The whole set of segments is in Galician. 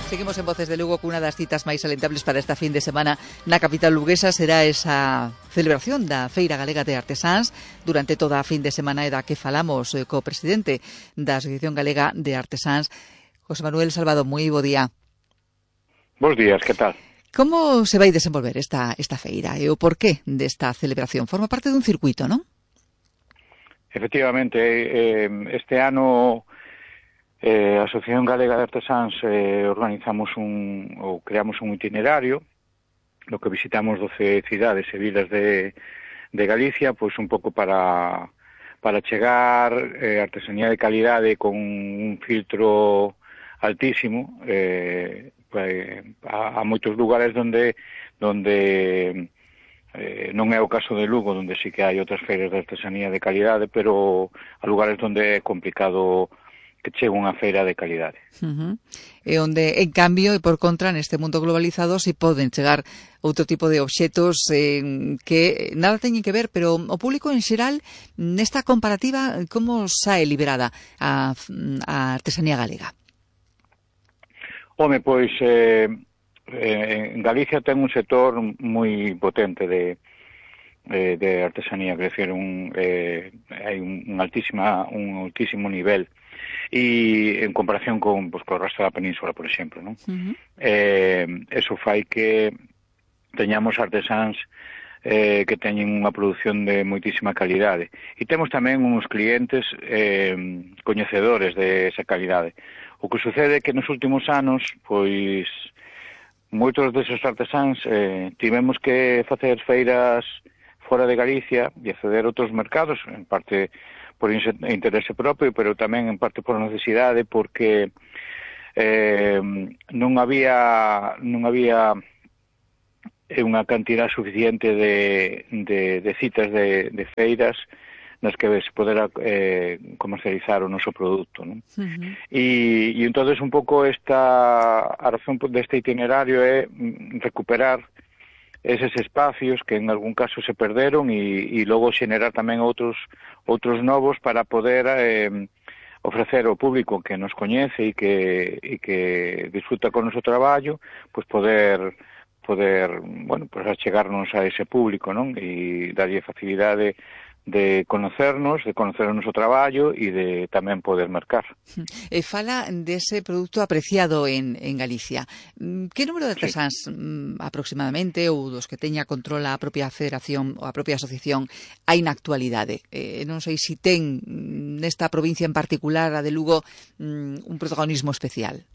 Seguimos en Voces de Lugo cunha das citas máis alentables para esta fin de semana na capital luguesa. Será esa celebración da Feira Galega de Artesáns durante toda a fin de semana e da que falamos co presidente da Asociación Galega de Artesáns, José Manuel Salvado. Moi bo día. Bos días, que tal? Como se vai desenvolver esta feira e o porqué desta celebración? Forma parte dun circuito, non? Efectivamente, este ano a Asociación Galega de Artesáns organizamos creamos un itinerario no que visitamos 12 cidades e vilas de Galicia, pois un pouco para chegar artesanía de calidade con un filtro altísimo a moitos lugares donde non é o caso de Lugo, onde sí que hai outras feiras de artesanía de calidade, pero a lugares onde é complicado que chegue unha feira de calidade. E onde, en cambio, e por contra, neste mundo globalizado, si poden chegar outro tipo de obxetos que nada teñen que ver, pero o público en xeral, nesta comparativa, como sae liberada a artesanía galega? Home, pois, en Galicia ten un sector moi potente de artesanía, que decir, hai un altísimo nivel, e en comparación con o resto da península, por exemplo, non? Eso fai que teñamos artesáns que teñen unha produción de moitísima calidade, e temos tamén uns clientes coñecedores de esa calidade. O que sucede é que nos últimos anos, pois, moitos deses artesáns tivemos que facer feiras fora de Galicia e acceder a outros mercados, en parte por interese propio, pero tamén en parte por necesidade, porque non había unha cantidad suficiente de citas de feiras nas que se podera comercializar o noso produto, non? E entonces un pouco a razón deste itinerario é recuperar eses espacios que en algún caso se perderon e logo xenerar tamén outros novos para poder ofrecer ao público que nos coñece e que disfruta con o noso traballo, pois poder bueno, pues achegarnos a ese público, non? E darlle facilidade de conocernos, o noso traballo e de tamén poder mercar. Fala dese produto apreciado en Galicia. Que número de artesáns aproximadamente, ou dos que teña controla a propia federación ou a propia asociación, hai na actualidade? Non sei se ten nesta provincia en particular, a de Lugo, un protagonismo especial.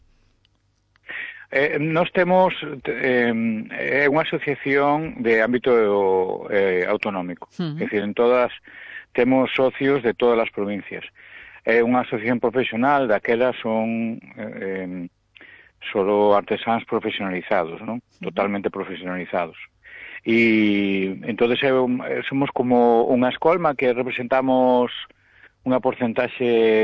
Nós temos unha asociación de ámbito autonómico, é dicir, en todas temos socios de todas as provincias. É unha asociación profesional, daquelas son solo artesáns profesionalizados, non? Totalmente profesionalizados. E entonces somos como unha escolma que representamos unha porcentaxe